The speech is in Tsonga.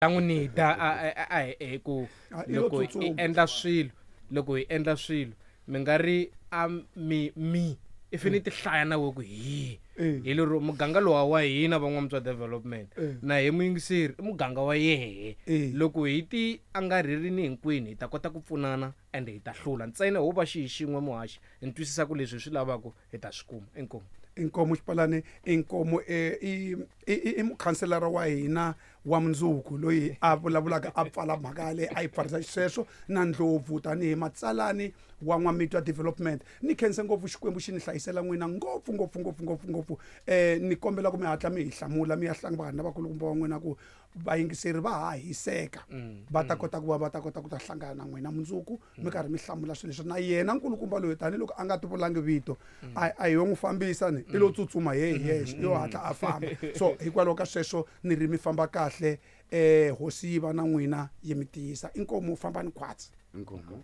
Ta n'wi nida a hi ku Ah, i lo loko hi tsutsuma. endla swilo, loko hi endla swilo mi nga ri a mi mi i fane ti hlaya na we ku hi hi lero muganga lowa wa hina van'wamtswa development na hi muyingiseri i muganga wa yehe. Loko hi ti angarhelini hinkwenu hi ta kota ku pfunana and hi ta hlula ntsena ho va xihi xin'we muhaxi hi twisisa ku leswi hi swi lavaka hi ta swi kuma. Inkomu. Inkomu Xipalani, inkomu i i i mukhanselara wa hina wa mundzuku loyi a vulavulaka a pfala mhaka yaleyo a yi pfarisa xisweswo na Ndlopfu tanihi matsalani wa N'wamitwa Development. Ni khense ngopfu Xikwembu xi ni hlayisela n'wina ngopfu ngopfu ngopfu ngopfu ngopfu. Ni kombela ku mi hatla mi hi hlamula mi ya hlangana na vakulukumba va n'wina ku vayingiseri va ha hiseka va ta kota ku va va ta kota ku ta hlangana na n'wina mundzuku mi karhi mi hlamula swilo leswi. Na yena nkulukumba loyi tanihiloko a nga ti vulangi vito a hi yo n'wi fambisa ni i lo tsutsuma he hi yexe i yo hatla a famba. So hikwalaho ka sweswo ni ri mi famba kahle, hosi yi va na n'wina yi mi tiyisa. Inkomu, fambani khwatsi. Inkomu.